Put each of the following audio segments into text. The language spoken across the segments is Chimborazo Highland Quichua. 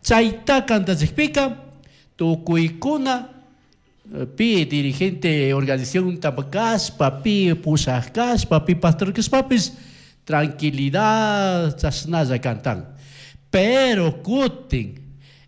Chaita cantachikpika tukuykuna pi dirigente organización kashpa, pi pushaj kashpa, pi pastor kashpapish tranquilidad chashnalla cantan. Pero kutin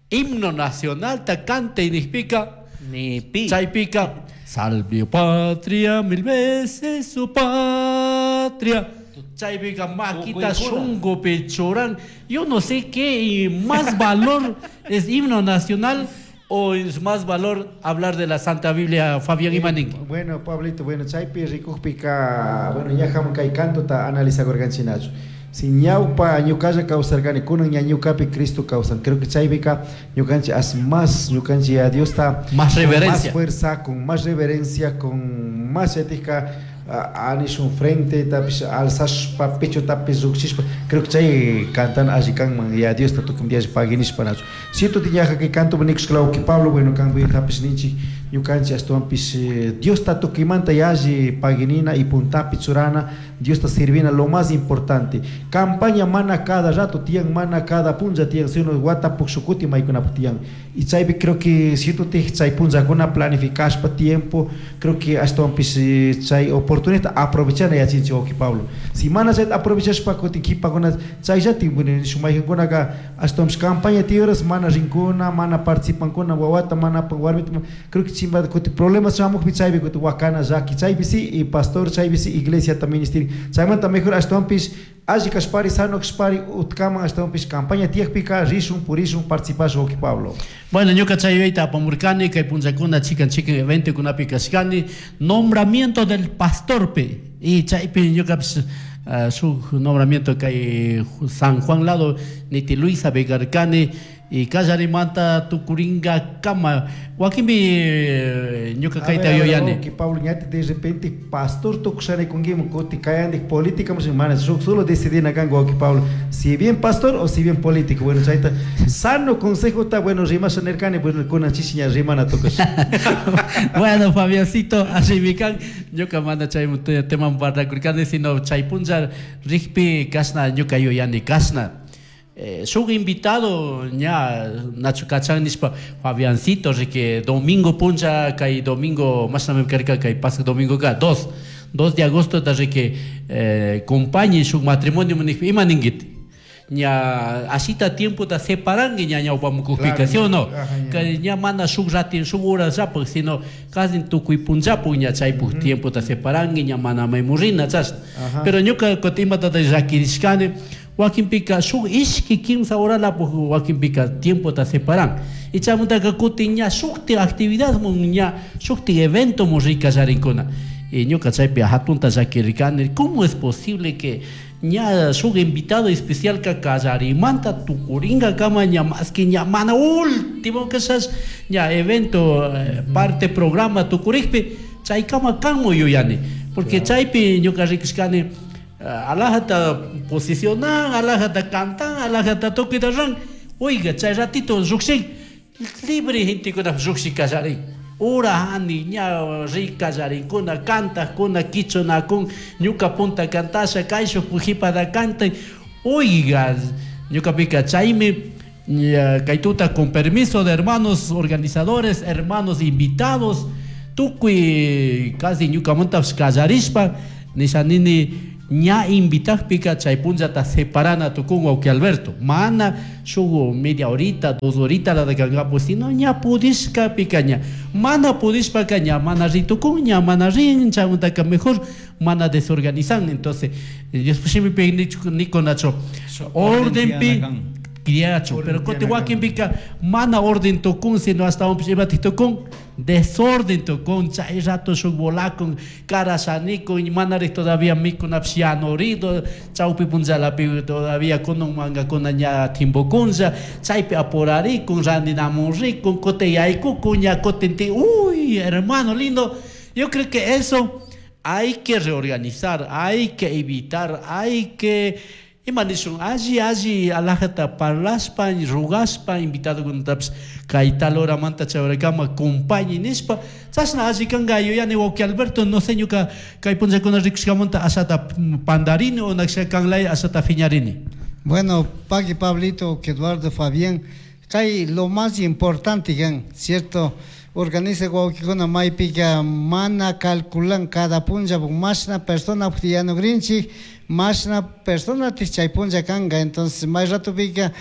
himno nacionalta cantay nijpika Ni pi. Chaypika salve patria mil veces su patria. Chaypika makita Tukuykuna. Shungupi churan. Yo no sé qué más valor es, himno nacional o es más valor hablar de la Santa Biblia, Fabián, imaninki. Bueno, Pablito, bueno, chaypi rikukpika, bueno, ñajaman kay cantota analizagurkanchinachu. Si ñawpa ñuqalla kawsarkani, kunan ña ñukapi Cristo kawsan. Creo que chaypika ñukanchik as más ñukanchik a Diosta Más con reverencia. Más fuerza, con más reverencia, con más ética anishun frente tapish alzashpa pecho tapish llukshishpa, creo que chay cantan alli kanman ya Diosta tukuy diash paginishpa nachu. Cierto tiñaja kay canto nikushka que Pablo, bueno, kan tapish ninchik ñukanchik ashtawanpish Diosta tukuymanta yalli paginina y puntapi churana, Diosta sirvina lo más importante. Campaña mana cada rato tiyan, mana cada punlla tiyan, sino wata pukshukuti maykunapaq tiyan. Y chaypi creo que cierto chay punllakuna planificashpa tiempo, creo que ashtawanpish chay oportunidad aprovechana yachinchik, wawqi Pablo. Si mana chayta aprovechashpa kutin kipakuna chayllati, bueno, maykankunaka ashtawanpish campaña tiyoras mana rinkuna, mana participankuna, wawata mana apan, warmita, creo que chimbata kutin problemas shamukpi chaypi kutin wakana llaki, chaypi sí y pastor chaypi sí iglesiata ministerio. Chaymanta mejor ashtawanpish alli kashpari, sano kashpari utkaman ashtawanpish campaña tiyakpika rishun, purishun, participashun, wawqi Pablo. Bueno, ñuka chay yuyayta apamurkani, kay punllakuna chikan chikan eventokunapi kashkani, nombramiento del pastorpi y chaypi ñukapish shuk nombramiento kay San Juan lado niti Luisa karkani y kallarimanta tukuringa kama wakinpi ñuka kayta yuyani. Que Pablo ñati de repente pastor tukushani kunkiman kuti kayandik política mana shuk solo decidina kanka, wawqi Pablo, si bien pastor o si bien político. Bueno, chayta sano consejota, bueno, rimasha nirkani, bueno, kunan chishi ña rimana tukush. Bueno, Fabiancito, así kan ñuka mana chay tema parlakurkani, sino chay punlla rikpi kashna ñuka yuyani kashna. Shuk invitado ña nachu kachan nishpa Fabiancito riki domingo punlla kay domingo mashnami karka kay pasaq domingo ka 2 de agosto ta riki compañe shuk matrimonio nishpa ima ninkiti ña ashita tiempo ta separanki ña ñawpamukukpika, Claro, ¿sí o no? Ajá, ña. Kay ña mana shuk ratin shuk horas llapuk, sino casi tukuy punllapuk ña chaypuk tiempo ta separanki ña mana maymurina chashna. Pero ñuka kutin imatata llakirishkani, wakinpika shuk ishki kimsa horalapuk wakinpika tiempo ta separan y chaymantaka kutin ña shukti actividad mun ña shukti evento mun rikallarinkuna y ñuka chaypi hatunta llakirikani, ¿cómo es posible que ña shuk invitado especial ka kallarimanta tukuringa kama ña más que ña mana último quizás ña evento parte programa tukurikpi chaykama kanmu yuyani? Porque chaypi ñuka rikushkani alajata posicionan, alajata cantan, alajata tukuyta ran. Oiga, chay ratito llukshin libre gentekuna llukshin kallarin ura hani ña ri kallarinkuna kantakuna kichunakun ñuka punta kantasha kayshuk jipada cantan. Oiga, ñukapika chaymi ña, kay tuta con permiso de hermanos organizadores, hermanos invitados, tukuy casi ñukamantapish kallarishpa nisha nini ña invitakpika chay punllata separana tukun, wawqi Alberto, mana shuk media horita, 2 horita la kankapu, sino ña pudishkapika ña mana pudishpaka ña mana ritukun ña mana rin chaymantaka mejor mana desorganizan. Entonces Dios shimipi nikunachu ordenpi criachu, pero kutin wakinpika mana orden tukun, sino hasta imatik tukun, desorden tukun, chay rato shuk volakun karashanikun manarik todavía mikunapish yanurido chawpi punllalapi todavía kunan mankakuna ña timbukunlla chaypi apurarikun randinamun rikun kutin yaykukun ña kutin ti uy, hermano lindo, yo creo que eso hay que reorganizar, hay que evitar, hay que ima nishun alli alli alajata parlashpa rugashpa invitadokunatapish kay tal horamanta chay horakama compañe nishpa chashna alli kanka yuyani, wawqi Alberto. No sé, ñuka kay punllakuna rikushkamanta ashata pandarini o nakshaka kanlaya ashata fiñarini. Bueno, Paqui Pablito, Eduardo Fabián, kay lo más importante kan, cierto, organiza wawkikuna maypika mana calculan cada punlla mashna persona yanugrinchik, mashna persona chay punlla kanga, entonces may ratopika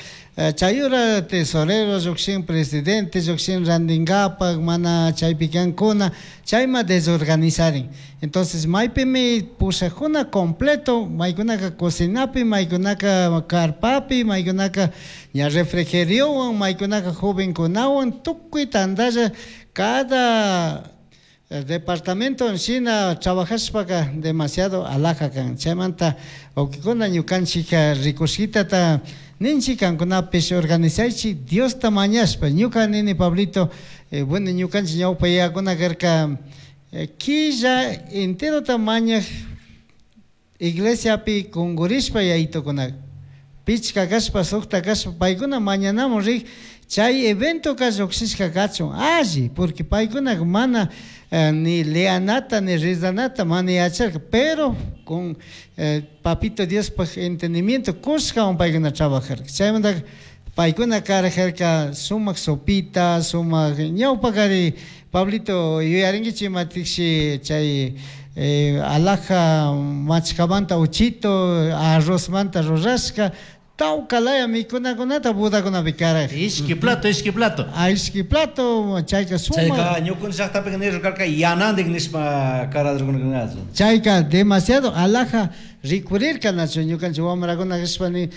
chayura tesorero llukshin, presidente llukshin randingapak, mana chaypi kankuna, chayma desorganizarin. Entonces maypimi pushakuna completo, maykunaka cocinapi, maykunaka carpapi, maykunaka ña refrigeriowan, maykunaka jovenkunawan, tukuy tantalla cada departamento en shina trabajashpaka demasiado alhaja kan. Chaymanta wawkikuna ñukanchik rikushkitata ninchik kankunapish organizaychik Diosta mañashpa. Ñuka nini Pablito, bueno, ñukanchik ñawpa yayakuna karka killa enterota mañaj iglesiapi kungurishpa yaytukuna pichka kashpa sukta kashpa paykuna mañanamun rik chay eventoka llukshishka kachun alli, porque paykuna mana ni leanata ni rezanata mana yacharka, pero con papito Diospaj entendimiento kushkawan paykuna trabajarka. Chaymanta paykuna karajarka sumak sopita, sumak ñawpakari Pablito yuyarinkichik imatikshi chay alhaja machkamanta uchito arrozmanta rurashka tawka laya mikunakunata bodakunapi karaj. Ishki plato, ishki plato. Ah, ishki plato, chayka sumak. Chayka ñukunchik llaqtapika nirkarka yanandik nishpa karadurkunachu. Chayka demasiado alhaja rikurirka nachu ñukanchik wamrakuna kashpa ni,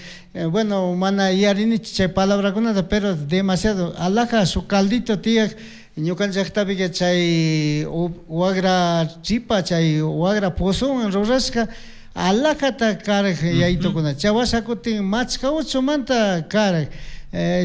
bueno, mana yarinichu chay palabrakunata, pero demasiado alhaja su caldito tiyak ñukanchik llaqtapika chay wagra chipa, chay wagra pozowan rurashka alhajata karaj yaytukuna. Chay washa kutin machka uchumanta karaj.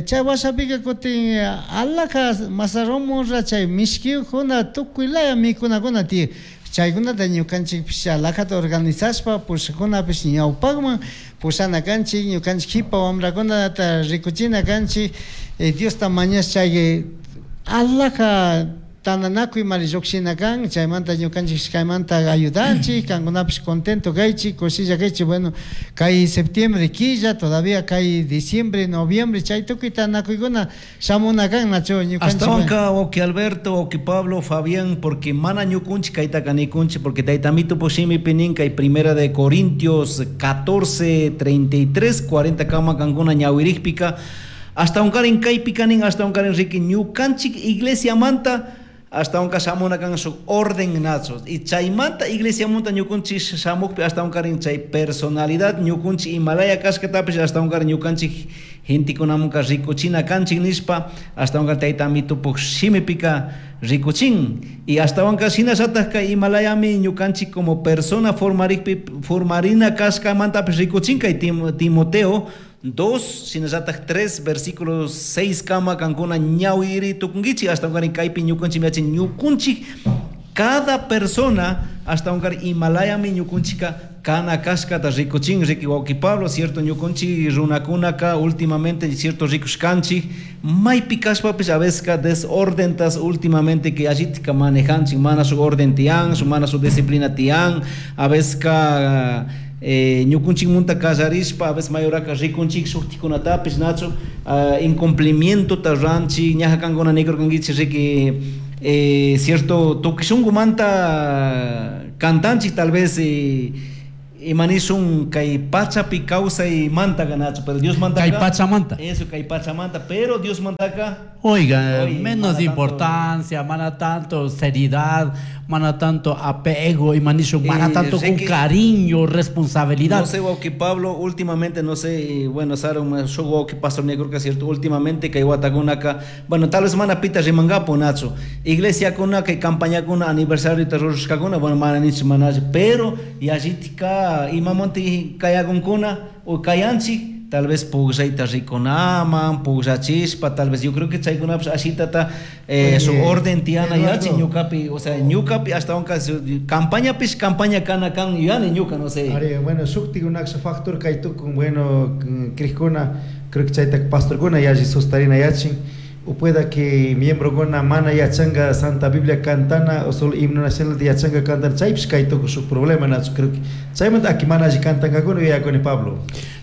Chay washapika kutin alhaja mazarromurra chay mishkiyukuna tukuy laya mikunakuna tiyak. Chaykunata ñukanchikpish alhajata organizashpa pushakunapish ñawpakman pushana kanchik, ñukanchik kipa wamrakunata rikuchina kanchik, Diosta mañash chay alhaja tantanakuy mari llukshina kan, chaymanta ñukanchik kaymanta ayudanchik, kankunapish contento kaychik, kushilla kaychik. Bueno, kay septiembre killa, todavía kay diciembre, noviembre, chay tukuy tantanakuykuna shamuna kan, nachu ñukanchik. Ashtawanka wawki Alberto, wawki Pablo, Fabián, porque mana ñukunchik kaytaka nikunchik, porque tayta Amito shimipi nin kay primera de Corintios 14, 33, 40 kama kankuna ñawirikpika, hasta unkarin kaypika nin, hasta unkarin riki ñukanchik iglesia manta, hasta unka shamuna kan su orden nacho. Y chaymanta iglesia manta ñukunchik shamukpi hasta unkarin chay personalidad ñukunchik Himalaya kashkatapish hasta unkarin ñukanchik gentekunamunka rikuchina kanchik nishpa, hasta unka tayta Amitupuk shimipika rikuchin. Y hasta unka shinallatak kay Himalayami ñukanchik como persona formarikpi, formarina kashkamantapish rikuchin kay Timoteo 2, shinallatak 3, versículos 6 kama kankuna ñawiri tukunkichik, hasta unkarin kaypi ñukunchik miachin ñukunchik cada persona hasta unkar Himalayami ñukunchika kana kashkata rikuchin, riki wawki Pablo, cierto ñukunchik runakunaka últimamente cierto rikushkanchik maypi kashpapish a veces ka desordentas últimamente que allitika manejanchik, mana su orden tiyan, su mana su disciplina tiyan, a veces ka ñukunchik munta kallarishpa, a veces mayoraka rikunchik shuktikunatapish, nachu, incumplimiento ta ranchik, ñaja kankuna nikurkankichik riki, cierto tukishunkumanta cantanchik tal vez, imanishun kay pachapi kawsay manta ganacho, pero Dios manda Kay acá. pachamanta. Eso, kay pachamanta, pero Dios manda acá. Oiga, Oye, menos mana tanto importancia, mana tanto seriedad, mana tanto apego, imanishun, mana tanto con Ricky, cariño, responsabilidad. No sé, Wauki Pablo, últimamente, no sé, bueno, Saron, yo Wauki Pastor Negro, que es cierto, últimamente que Guatagunaca, bueno, tal vez mana pita rimangapo, Nacho, iglesia kuna, que campaña kuna, aniversario de terror, bueno, mana nicho, mana, pero, y allí tika, y mamonte, kayagunkuna, o kayanchi, tal vez pugsaita rikunaman, pugsachispa, tal vez yo creo que chaykuna, pues, así tata, su Oye, orden tiana Eduardo. yachi, ñucapi, o sea, ñucapi hasta un caso, campaña pis, campaña cana can, yani ñuca, no sé. Are, bueno, shukti unaksha factor kaytukun, bueno, crijkuna, creo que chayta pastorkuna yachi sustarina yachin, o pueda que miembro gona mana yachanga Santa Biblia cantana o solo himno nacional de yachanga cantana, chaypis kaytukun su problema, Nacho, creo que chaymanta aquí mana allí cantangakuna yuyakuni Pablo.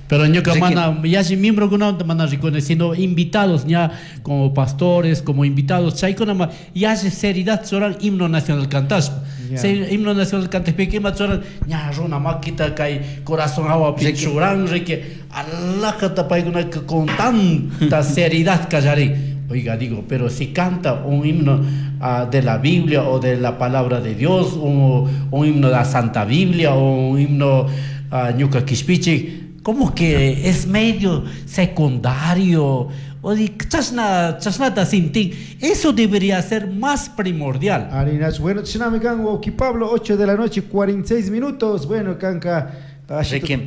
Pero ñuka mana yalli miembrokunamanta mana rikuni, sino invitados ña como pastores, como invitados, chaykunama yalli seriedad churan himno nacional cantashpa. Himno nacional cantashpika ima churan ña runa makita kay corazón hawapi churan riki alajata paykunaka con tanta seriedad kallarin. Oiga, digo, pero si canta un himno de la Biblia o de la palabra de Dios, un himno de la Santa Biblia o un himno ñuka kishpichik, como que es medio secundario, o di, chasna, chasnata sintin, eso debería ser más primordial. Arinas, bueno, chinami kan, wauki Pablo, 8 de la noche, 46 minutos, bueno, kanka, Ricky,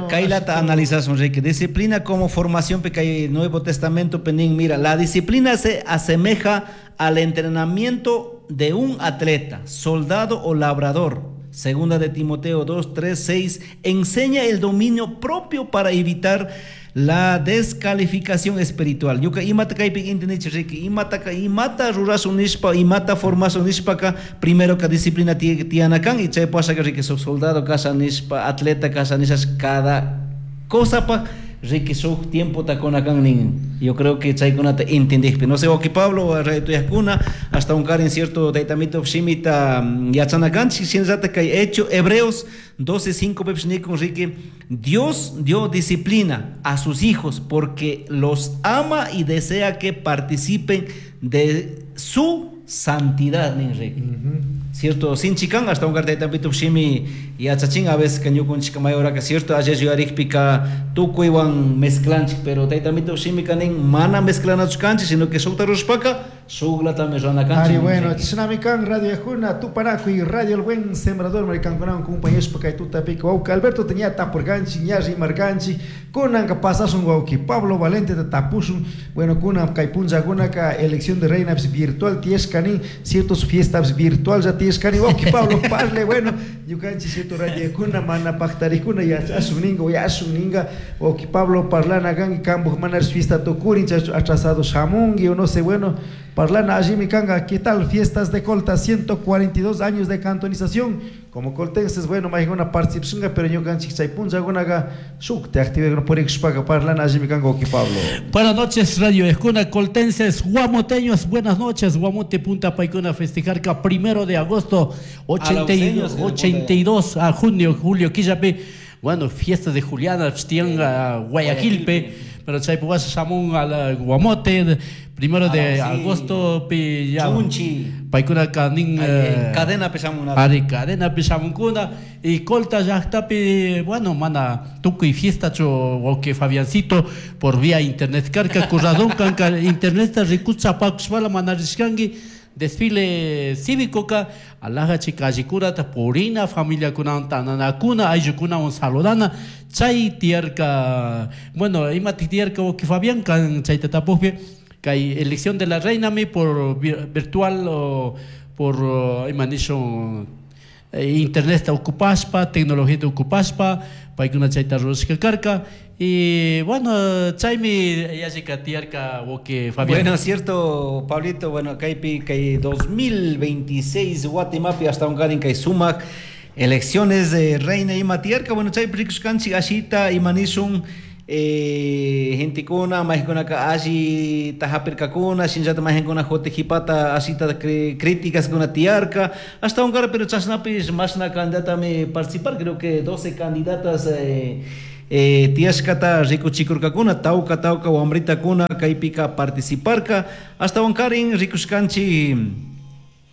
kailata analizas, Ricky. Disciplina como formación, porque el Nuevo Testamento, penín, mira, la disciplina se asemeja al entrenamiento de un atleta, soldado o labrador. Segunda de Timoteo 2, 3, 6, enseña el dominio propio para evitar la descalificación espiritual. Ñuka imata kaypi intendich Ricky, imata ka imata rurasun nishpa, imata formasun nishpaka, primero ka disciplina tiyana kan, y chay pasaka Ricky, soldado kasha nishpa, atleta kasha nishas, cada cosa pa Ricky suk tiempo takona kan nin. Yo creo que chaykunata entendijpi. No sé, wauki Pablo, raytuyajkuna, hasta un karin cierto taytamito shimita yachana kanchik, shinallata kay hecho Hebreos 12:5 pepis nikun Ricky, Dios dio disciplina a sus hijos porque los ama y desea que participen de su santidad, nin Ricky. Cierto, sin chican, hasta un cartel también shimi y achachin a veces que yo con chica mayor que cierto, ayer yo arikpika tukuywan mezclanchik, pero taytamito shimi kanin mana mezclana chukanchik, sino que sukta rushpaka, sugla también rana kanchik. Ari, bueno, chinami kan, Radio Yajuna, Tupanaco y Radio El Buen Sembrador, maricanconao, compañeros, pa kay tutapika, wauka Alberto tenía tapurganchi, ñarri marganchi, kunanka pasasun wauki Pablo Valente de tapusun, bueno, kunan kay punllakunaka elección de reina virtual tiescanin, ciertos fiestas virtual ya tiescani, wauki Pablo parle, bueno, ñukanchik cierto Radio Yajuna, mana pactarikuna, ya asuninga, ya asuninga, wauki Pablo parlana gangi, kambuj manar fiesta tukurin, chacho atrasado shamungi, o no sé, bueno, parlana allí mi kanga, ¿qué tal? Fiestas de Colta, 142 años de cantonización, como coltenses, bueno, más una participación, pero ñukanchik chay punllakunaqa shuk te active por ixpaca parlana allí mi kanga, wauki Pablo. Buenas noches, Radio Yajuna, coltenses, guamoteños, buenas noches, Guamote Punta Paicuna festejar que 1 de agosto, 82 a junio, julio, Quillape, bueno, fiestas de Juliana, Tianga, Guayaquilpe, pero chay puwas shamun a la Guamote, 1 de agosto, pi ya. Chunchi. Paicuna kanin, cadena pesamuna. Ari, cadena pesamuncuna, y Colta llaqtapi, bueno, mana tukuy fiesta cho wauki Fabiancito por vía internet karka, curradón kanka internet ta rikucha pakushpala mana rishkanki, desfile cívico ka, alaja chikallikura ta purina, familia kuna tananakuna, ayllukuna un saludana, chay tierka, bueno, ima tierka wauki Fabián kan chay tatapujpi, kay elección de la reina mi por virtual o por ima nishun, internet ta ocupaspa, tecnología ta ocupaspa, paykuna chayta rurashka karka, y bueno, chaymi yallika tiyarka wauki Fabián. Bueno, cierto, Pablito, bueno, kaypi kay 2026 Guatemapi hasta un karin kay sumak elecciones de reina ima tiyarka, bueno, chaypi rikushkanchik ashita ima nishun, gentekuna, majkunaka alli tajapirkakuna, shinllata majinkuna jotejipata ashita críticas kuna tiyarka, hasta un cara, pero chashnapis mashna candidatami participar, creo que 12 candidatas tiyashkata rikuchikurkakuna, tauka tauka wambritakuna kaypika participarka, hasta un karin rikushkanchik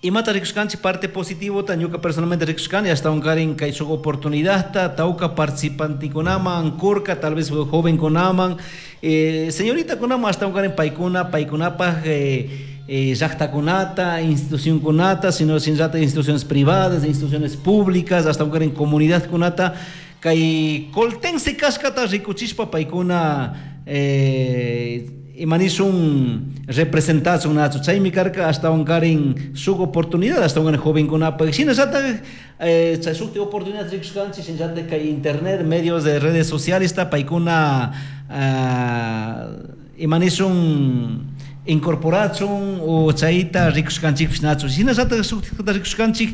imata rikushkanchik parte positivota, ñuka personalmente rikushkani, hasta un karin kay shuk oportunidadta, tauka participantikunaman, kurka, tal vez jovenkunaman, señoritakunaman, hasta un karin paykuna, paykunapaj llaqtakunata, institucionkunata, sino shinllata instituciones privadas, instituciones públicas, hasta un karin comunidadkunata, kay coltense kashkata rikuchishpa paykuna imanishun representación nacho chaymi karka hasta un karin shuk oportunidad hasta un joven kunapa shinallata chay shuk oportunidad rikushkanchik shinallata kay internet medios de redes sociales ta paykuna imanishun Incorporachun o chayta rikushkanchikpish nachu. Shinallatak shuktikta rikushkanchik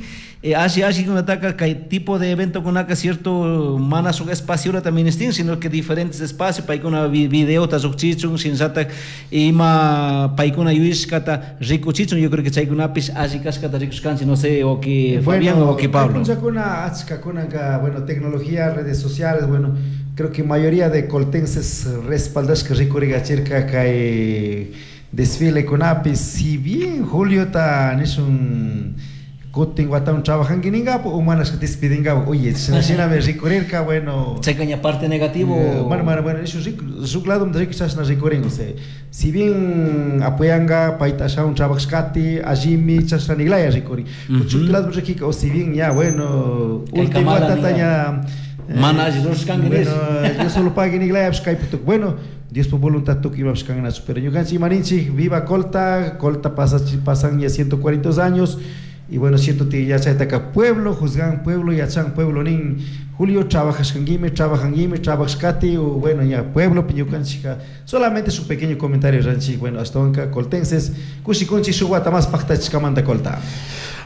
ashi ashikunataka kay tipo de eventokunaka cierto mana shuk espaciorata ministin, sino que diferentes espacios paykuna videota llukchichun, shinallatak ima paykuna yuyashkata rikuchichun. Yo creo que chaykunapish alli kashkata rikushkanchik, no sé, o que Fabián o que Pablo. Punchakuna achkakunaka, bueno, tecnología, redes sociales, bueno, creo que mayoría de coltenses respaldashka rikurigachirka kay desfile kunapi. Si bien Julio ta nishun kutin watan trabajanki ningapu o manas despidingapu, oye, shinami rikurirka, bueno. Chaykaña parte negativo. Bueno, bueno, bueno, eso shuk lado riku chashna rikurin, o sea, si bien apoyanga payta ashawan trabajashkati allimi chashna niglaya rikuri. Shuk lado rikika, o si bien ya, bueno, último watata ya mana alli rurashkanki. Bueno, yo solo pague niglaya kaypi tukuy, bueno, Dios por voluntad tukuy imapish kannachu, pero ñukanchik imaninchik, viva Colta, Colta pasa, pasan ya 142 años. Y bueno, siento que ya chaytaka pueblo, juzgan pueblo, yachan pueblo nin Julio trabajashkanguime, trabajanguime, trabajashkati, o bueno, ya pueblo piñukanchika. Solamente su pequeño comentario ranchik, bueno, hasta onka coltenses, kushikunchi shuk wata más paktachishkamanta Colta.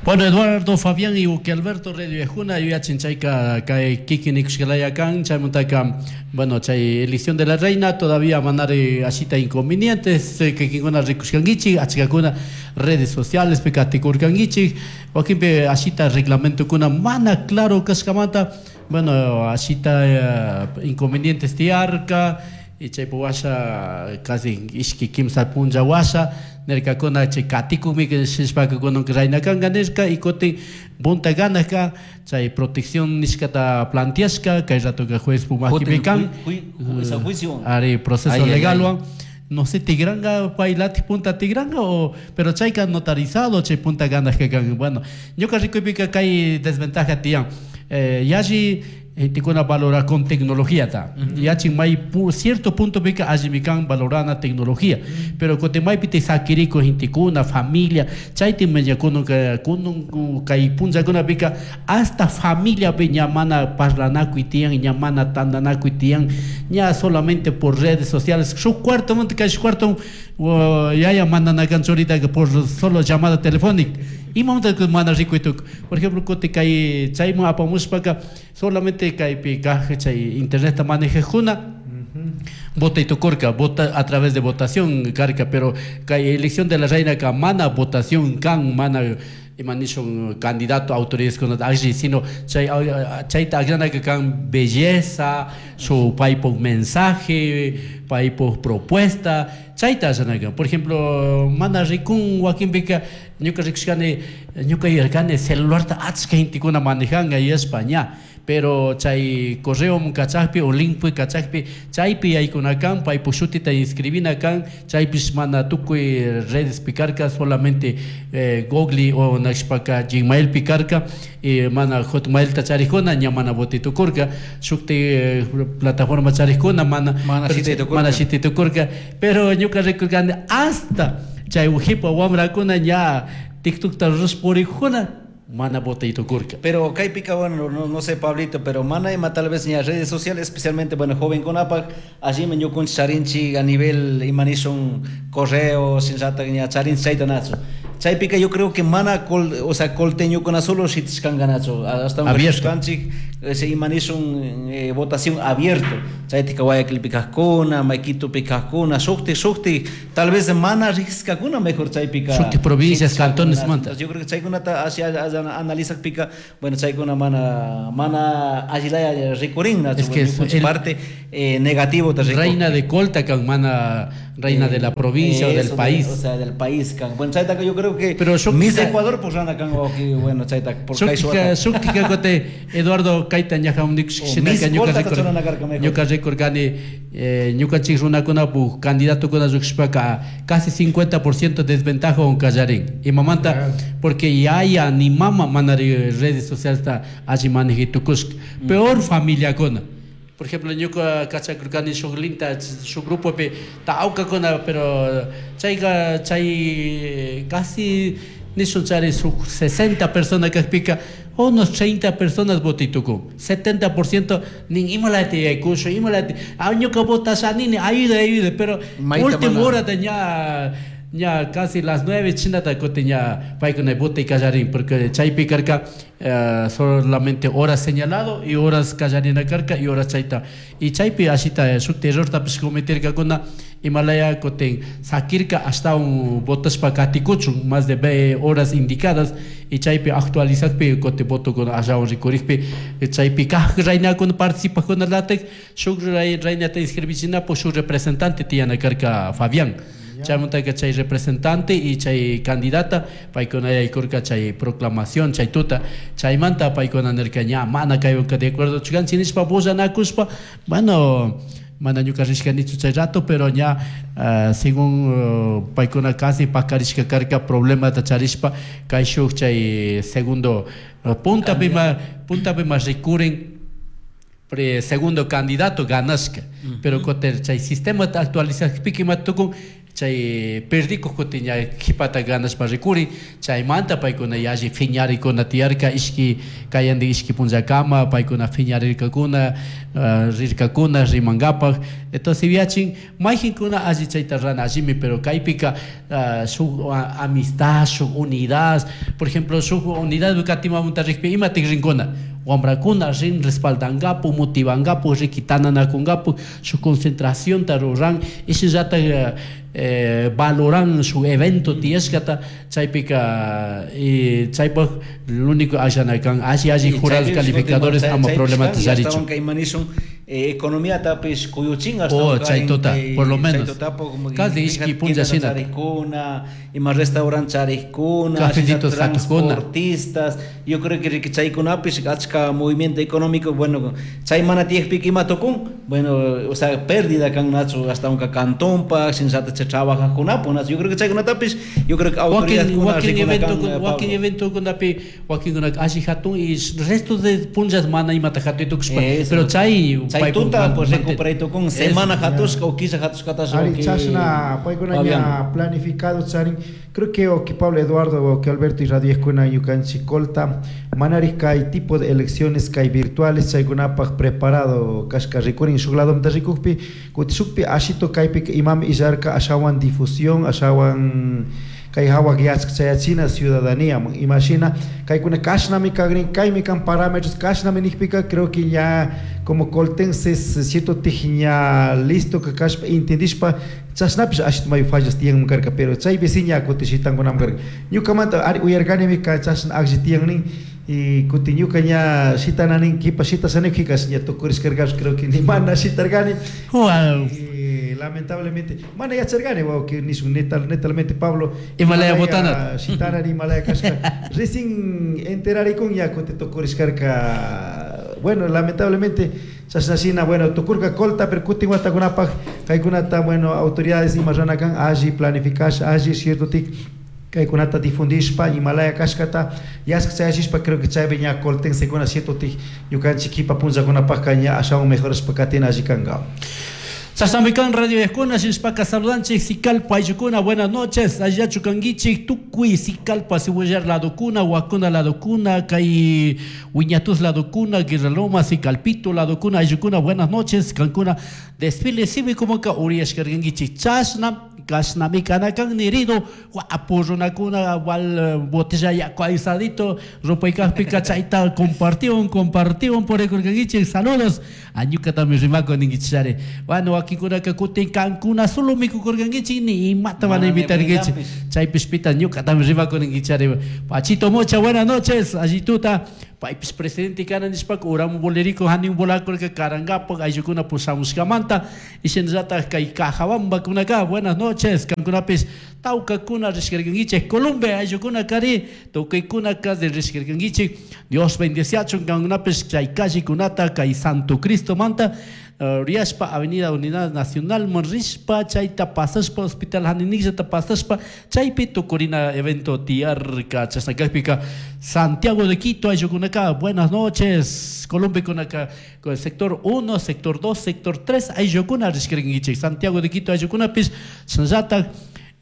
Bueno, Eduardo Fabián y Uque Alberto Radio Ejuna, yuyachin chayka kay kikin ikushkalaya kan, chaymantaka, bueno, chay elección de la reina, todavía manare ashita inconvenientes, kikinkuna rikushkankichik, achkakuna redes sociales pekatikurkankichik, wakinpi ashita reglamentokuna mana claro kashkamanta, bueno, ashita inconvenientes tiyarka, y chaypi washa casi ishki kimsa punlla washa, nirkakuna chay katikukmi shishpaka kunanka reina kanka nishka, y kutin punta ganaka chay protección nishkata planteashka, kay ratoka juez makipi kan. Juicio. Ari proceso Ay, ay, legalwan. ay. No sé, tigranga, pailati punta tigranga o, pero chayka notarizado chay punta ganaka kan. Bueno, ñuka rikuypika kay desventaja tiyan. Yalli gentekuna valora con tecnología ta. Yachin may cierto punto pica allí kan valorana tecnología. Pero kote may pite sakiriko gentekuna, familia, chayti meña kuno ka, kuno kay punza kuna pica hasta familia pe ñamana parlanaku itian, ñamana tandanaku itian, ña solamente por redes sociales. Su cuarto monte kay su cuarto, o, yaya mandana canchorita que por solo llamada telefónica. Y momento que manda rico y tuc. Por ejemplo, kote kay chaymu apamushpaka solamente kay pi kaj chay internet ta maneja juna. Vota y tocorca, vota a través de votación carca, pero kay elección de la reina ka mana votación kan mana imanishon candidato a autoridades con allí, sino chay, chay ta agrana que kan belleza, su paipo mensaje, paipo propuesta, chay ta agrana que, por ejemplo, mana rikun wakin bika, ñuka rikushkani, ñuka yarkani celular ta achka gentekuna manejanga y España, pero chay correo kachakpi o link pi kachakpi, chaypi yaykunakan, paypu shutita inscribinakan, chaypis mana tukuy redes picarca, solamente Google o nashpaka Gmail picarca, y mana Hotmail ta charikuna, ña mana botitukurka, shukti plataforma charikuna, mana, Mana pero shititukurka. mana shititukurka, pero ñuka rikurkani hasta chay ujipa wamrakuna ña TikTok ta ruspurikuna, mana botitukurka. Pero kaypika, bueno, no, no sé, Pablito, pero mana ima tal vez en las redes sociales, especialmente, bueno, joven con APAC, allí me ñukunchi charinchi a nivel imanishun correo, sin rata, ña charinchi chayta nacho. Chaypika yo creo que mana col, o sea, colteño con solo shitishkanganacho, hasta un Abierto. kanchik, ese imanishun votación abierto. Chaytika Guayaquil pikajkuna, Maikito pikajkuna, shukti, shukti, tal vez mana riskakuna mejor chaypika. Shukti provincias, Shitishkakuna. cantones, manta. Entonces, yo creo que chaykunata hacia, hacia analiza pica, bueno, chaykuna mana, mana allilaya rikurin, nacho, Es que bueno, es ñukunchik el parte negativo te rico. Reina de Colta, kan mana reina de la provincia o del Eso, país. O sea, del país, kan. Bueno, chayta yo creo que Pero yo Miss quizá- Ecuador, pues anda kan, ok, bueno, chayta, por Shuktika, kay suata. shuktika kote Eduardo Kaita ñaja unik O shinaka Miss ñuka Colta récord- tachona karka mejor. ñuka récord gani ñukanchik runakunapu candidato kuna lluqshishpaka casi 50% desventaja on kallarin. Imamanta, porque yaya ni mama manari redes sociales ta alli maneji tukushka. Peor familiakuna. Por ejemplo, ñuka kachakurkani shuk linta, shuk grupopi tawkakuna, pero chayka, chay casi nishun chari shuk 60 personas kakpika, unos 30 personas votituku, 70% nin imalati yaykushu, imalati, ah, ñuka votasha nini, ayuda, ayuda, pero Mayta última mana. hora de ña Ña casi las 9 chinata kutin ña paykuna votay kallarin, porque chaypi karka solamente horas señalado y horas kallarina karka y horas chayta. Y chaypi ashita shuk errortapish cometerkakuna, imalaya kutin sakirka ashtawan votashpa katikuchun más de horas indicadas, y chaypi actualizakpi kutin votokuna ashawan rikurikpi chaypi kaj raynakuna participajkunalatik shuk raynata inscribichinapuk shuk representante tiyana karka Fabián. Chaymantaka chay representante y chay candidata paykuna yaykurka chay proclamación chay tuta, chaymanta paykuna nirka ña mana kaywanka de acuerdo chukanchik nishpa bullanakushpa, bueno, mana ñuka rishkanichu chay rato, pero ña según paykuna casi pakarishka karka problemata charishpa kayshuk chay segundo puntapi ma rikurin segundo candidato ganashka, pero kutin chay sistemata actualizakpika ima tukun chay perdikuq kutin ña qhipata ganashpa rikurin, chaymanta paykuna yalli phiñarikuna tiyarka ishki kayandi ishki punllakama paykuna phiñarirkakuna, rirkakuna rimankapaq. Entonces yachin mayqinkuna alli chayta rana allimi, pero kaypika shuk amistad, shuk unidad, por ejemplo shuk unidad katimamunta rikpi imatik rinkuna wamrakuna rin respaldangapu, motivangapu, rikitananakungapu, su concentración ta ruran, ishinllatak valoran su evento tiyashkata, chaypika y chaypaj lo único allanakan alli alli jurados calificadores ama problema charichu. Economía tapish kuyuchin hasta oh, chaytuta, por lo menos casi ishki punlla shina ima restaurant charikuna, cafecitos transportistas, yo creo que chaykunapish achka movimiento económico, bueno, chay mana tiyakpika ima tukun, bueno, o sea, pérdida kan nachu hasta unka cantonpa, shinllata chay trabajajkunapu, yo creo que chaykunatapish, yo creo que autoridadkuna rikuna kan, wakin eventokunapi wakinkunaka alli hatun y resto de punllas mana imata hatuy tukushpa, pero chay tuta pues recuperay tukun semana hatushka o killa hatushkatash. Ari chashna paykuna ña planificado charin, creo que o que Pablo Eduardo o que Alberto y Radio Escuela ñukanchik Colta manari kay tipo de elecciones kay virtuales chaykunapaq preparado kashka rikurin shuk ladomanta rikukpi kuti shukpi ashito kaypika imami illarka ashawan difusión ashawan kay hawak yachka chayachina ciudadanía imashina kaykuna kashnami kagrin kaymi kan parámetros kashnami nikpika creo que ya como coltenses cierto tij ña listo que kashpa intendishpa chashnapish ashit mayu fallas tiyanman karka, pero chaypi si ña kuti shitankunaman karka ñukamanta ari uyarkanimi ka chashna aklli tiyannin y kuti ñuka ña shitananin kipa shitashanikpikas ña tukurishkarkapish creo que ni mana shitarkani. Lamentablemente mana yacharkani wawqi nishun netalmente Pablo Himalaya botana shitarani Himalaya kashka recién enterarikun ña kuti tukurishkarka, bueno, lamentablemente chashnashina, bueno, tukurka Colta, pero kutin watakunapaq kaykunata, bueno, autoridades ima ranakan alli planificash alli cierto tik kaykunata difundishpa Himalaya kashkata yashka chayashishpa creo que chaypi ña coltensekuna cierto tik ñukanchik kipa punllakunapaqka ña ashawan mejorashpa katina alli kanka. Chashnamikan Radio Escuela, Shishpaka saludanchik, Sicalpa ayllukuna, buenas noches, allachu kanguichik, tukuy Sicalpa, Sihuellar ladokuna, Huacuna ladokuna, kay Wiñatus ladokuna, Guerraloma, Sicalpito ladokuna, ayllukuna, buenas noches, kankuna, desfile cívico moka uriashkarganguichik, chashna, kashnami kanakan nirido, guapo runakuna, wal botella yaku aisadito, rupaykajpika chayta compartión, compartión por el saludos, añuka también rimako ninguichare, bueno, wakinkunaka kutin kankuna solo mikukurkankichik ni imata van a invitarkichik, chaypishpita ñuka también rimako ninguichare, Pachito Mocha, buenas noches, allituta, paypis presidente kana nishpaka uramu boleriko hanin volakurka karangapak ayllukuna pushamushkamanta y shinallatak kay Cajabambakunaka, buenas noches, kankunapis tawkakuna rishkarkankichik, Colombia ayllukuna kari tukuykuna de rishkarkankichik, Dios bendeciachun kankunapis chay callekunata kay Santo Cristo manta Riashpa Avenida Unidad Nacional Monrishpa chayta pasashpa Hospital Haninillata pasashpa chaypi tukurina evento tiyarka chashnakakpika Santiago de Quito ayllukunaka, buenas noches, Colombia kunaka sector 1, sector 2, sector 3 ayllukuna rishkarkankichik, Santiago de Quito ayllukunapis shinallatak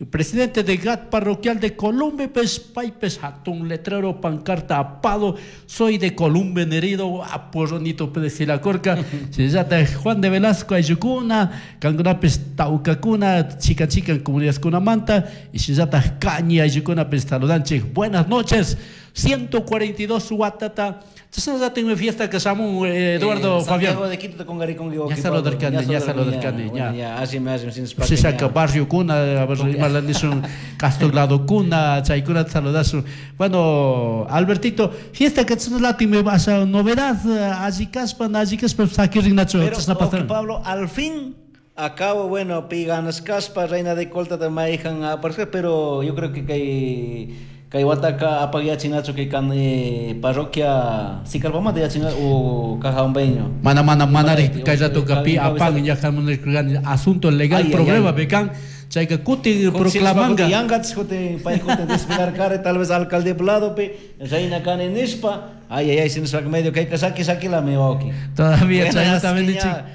Presidente de GAT parroquial de Columbe, pues, paypes hatun letrero, pancarta apado, soy de Columbe nerido, guapo, ronito pedesilacorca, shinallata Juan de Velasco ayllukuna, kankunapis tawkakuna, chica chica comunidadkunamanta, y shinallata Cañi ayllukunapis saludanchik. Buenas noches, 142 watata. Chashnallata fiesta que shamun Eduardo Fabián. Santiago de Quito con Ya saludarkani, ya saludarkani, ya. Ya, ashimi, ashimi, sin Shisaka barrio kuna, a ver, imala nishun Castro kuna, chaykuna saludasun. Bueno, Albertito, fiesta que chashnallata me vas a novedad, alli kashpa, alli kashpa sakirinnachu, Pero, chashna ok, pasar. Pablo, al fin acabo, bueno, piganas caspa, reina de colta de maijan a aparecer, pero yo creo que kay kay wataka apagyachinachu kay kan parroquia Sicalpamanta yachina o Cajambeño. Mana mana mana Mana, kay rato kapi cabeza- apan ya jamunirkani asunto legal Ay, ay, problema ay. bekan chayka kutin proclamanga. Yangats kutin pay kutin desfilar kare tal vez alcalde blado pe reina kane nishpa ay ay ay sin medio kay kasaki saki la me wauki. Todavía Bueno, chayna así también que nichik. ya,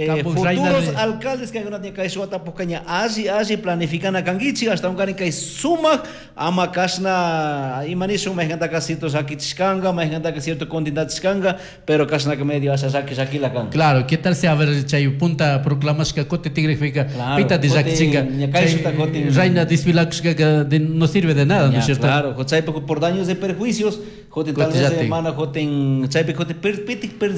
Kampu reina futuros de- alcaldes que alguna kay suata pokaña asi asi planificana kangichi hasta un kani kay sumak ama kasna imanishu mejanta kasito sakichkanga mejanta ka cierto continentachkanga pero kasna que medio asa saki saki la kan. Claro, ¿qué tal si a ver chay punta proclamashka kote tigre Claro, pita de kote, chinga. ña kay shuta kote. Reina desfilakushka no sirve de nada, ¿no Ya, es cierto? Claro, chaypi por daños de perjuicios, jote tal vez Cotillate. hermana joten chaypi jote per pitik per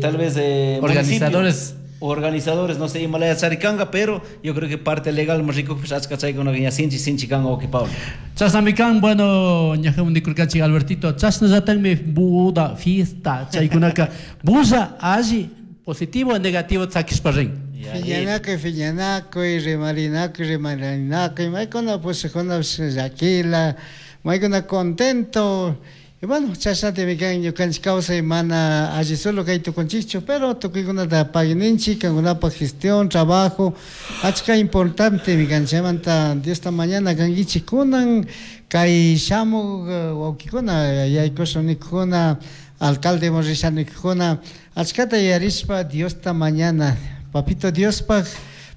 tal vez Organizadores. municipio, organizadores, no sé, Himalaya Charicanga, pero yo creo que parte legal más rico pues achka chaykuna ya sinchi sinchi kanga oki Pablo. Chasnamikan, bueno, ñajamun nikurkanchik Albertito, chasnallatanmi buda fiesta chaykunaka bulla alli positivo o negativo tzakishpa rin. Fiñanakuy, fiñanakuy, rimarinakuy, rimarinakuy, maykuna pushakuna llakila, maykuna contento. Y bueno, chashnatimi kan ñukanchik kawsay mana alli solo kay tukunchikchu, pero tukuykunata pagininchik, kankunapaq gestión, trabajo, achka importante kan chaymanta Diosta mañana kankichik kunan kay shamuk wawkikuna, yaykushun nikukuna, alcalde risha nikukuna, achkata yarishpa Diosta mañana, papito Diospaq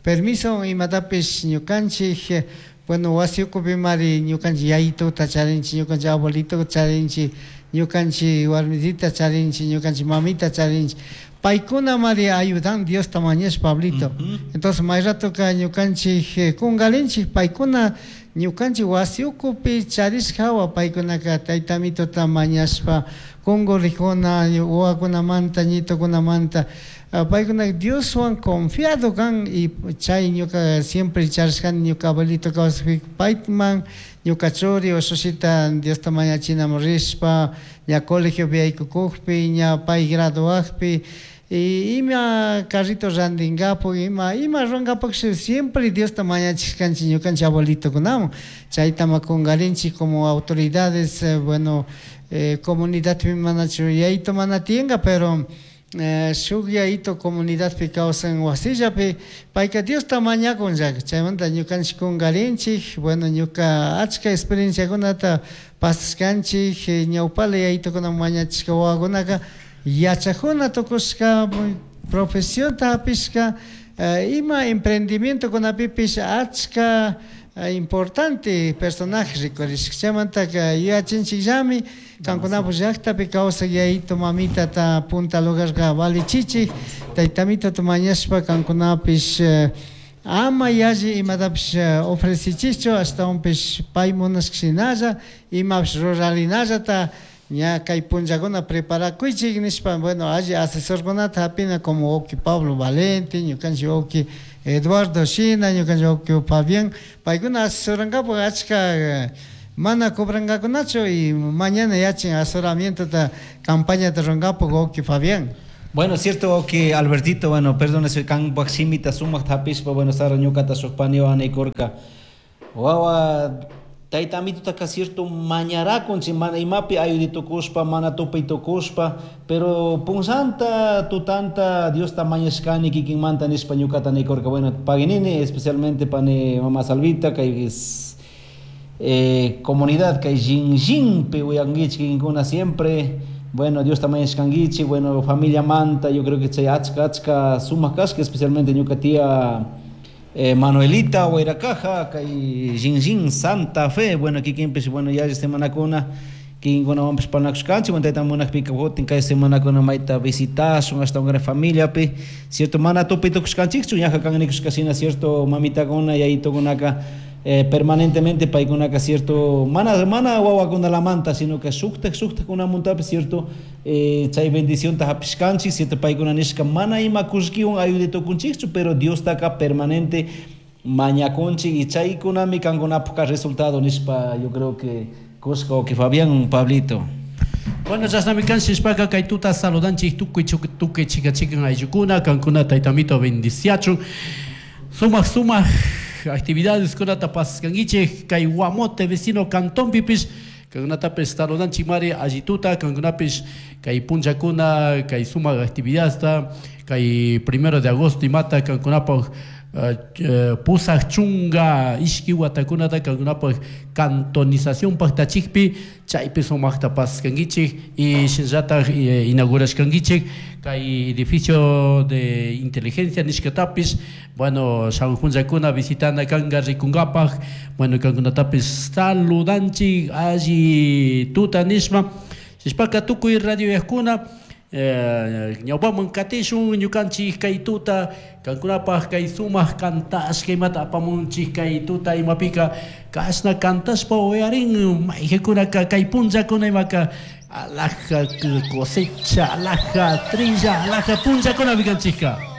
permiso imatapish ñukanchik, bueno, wasi ukupi mari ñukanchik yayituta charinchik, ñukanchik abuelituta charinchik, ñukanchik warmitita charinchik, ñukanchik mamita charinchik. Paykuna mari ayudan Diosta mañashpa, Pablito. Entonces, may ratoka ñukanchik kungalinchik, paykuna ñukanchik wasi ukupi charishka hawa paykunaka tayta mituta mañashpa kungurijuna, wawakunamanta, ñitukunamanta. Paykuna Dioswan confiado kan y chay ñuka siempre charishkani ñuka abuelito kawsakpi payman ñuka churi ushusita Diosta mañachinamun rishpa ña colegiopi yaykukukpi ña pay graduakpi y ima carrito randinkapak ima ima rurankapak siempre Diosta mañachishkanchik ñukanchik abuelitokunaman chaytama kungarinchik como autoridades, bueno, comunidadpi manachu yayto mana tiyanka pero shuk yayito comunidadpi kawsan wasillapi payka Diosta mañakun llaka chaymanta ñukanchik kungarinchik, bueno, ñuka achka experienciakunata pasashkanchik, ñawpala yayitokuna mañachishka wawakunaka yachakuna tukushka profesionta hapishka, ima emprendimientokunapipish achka importante personaje rikurishka chaymantaka yuyachinchikllami kankunapak llaktapi kawsak yayito mamitata punta lugarka valichichik taytamitata mañashpa kankunapish ama yalli imatapish ofrecichichu ashtawanpish pay munashka shinalla imapish rurarinallata ña kay punllakuna preparakuychik nishpa, bueno, alli asesorkunata hapina como wawki Pablo Valente, ñukanchik wawki Eduardo shina, ñukanchik wawki Fabián, paykuna asesorankapak achka mana cobrankakunachu y mañana yachin asesoramientota campañata rurankapak wawki Fabián. Bueno, cierto que Albertito, bueno, perdón, soy kan baximita sumak tapishpa, bueno, sara ñukata shukpani anikurka. Wawa, tayta amitutaka cierto mañarakunchik, mana imapi ayuditukushpa, mana tupaytukushpa, pero punllanta, tutanta, Diosta mañashkani kikinmanta nishpa ñukata nikurka. Bueno, paginini, especialmente pani mama Salvita, kay es, comunidad, kay Xinxinpi uyankichik kikinkuna siempre. Bueno, Dios también es canguichi, bueno, familia manta, yo creo que chay achka, achka sumak kashka, especialmente ñuka tía Manuelita Huayracaja, kay Jinjin Santa Fe, bueno, kikinpish, bueno, yalli semanakuna, kikinkunawanpish parlanakushkanchik, bueno, tayta munakpika kutin kay semanakuna mayta visitashun, ashtawankarin familiapi, cierto, mana tupi tukushkanchikchu, ñaja kan nikushka shina, cierto, mamitakuna, yayitukunaka, permanentemente paykunaka, cierto, mana, mana wawakunalamanta, sino que shuktak, shuktakunamuntapish, cierto, chay bendicionta hapishkanchik, cierto, paykuna nishka mana ima kullkiwan ayude tukunchikchu, pero Diostaka permanente mañakunchik y chaykunami kankunapukka resultado nishpa, yo creo que kushka que Fabián, Pablito. Bueno, chashnami kan shishpaka kay tuta saludanchik tukuy tukuy chika chikan ayllukuna, kankuna taytamito bendiciachun. Sumak sumak actividades kunata paskankichik kay Guamote vecino cantonpipish, kankunatapish saludanchik mari allituta, kankunapish kay punllakuna, kay sumak actividadta, kay 1 de agosto imata kankunapaj pusaj chunga ishki watakunata kankunapaj cantonización paktachikpi, chaypi sumakta paskankichik y shinallataj inaugurashkankichik kay edificio de inteligencia nishkatapish, bueno, shamuj punllakuna visitana kanka rikunkapaj, bueno, kankunatapish saludanchik alli tuta nishpa, shishpaka tukuy radio yakuna, ñawpaman katishun ñukanchik kay tuta, kankunapaj kay sumak kantashka imata apamunchik kay tuta imapika kashna kantashpa uyarin mayqikunaka kay punllakuna imaka alhaja cosecha, alhaja trilla, alhaja punllakunapi kanchikka.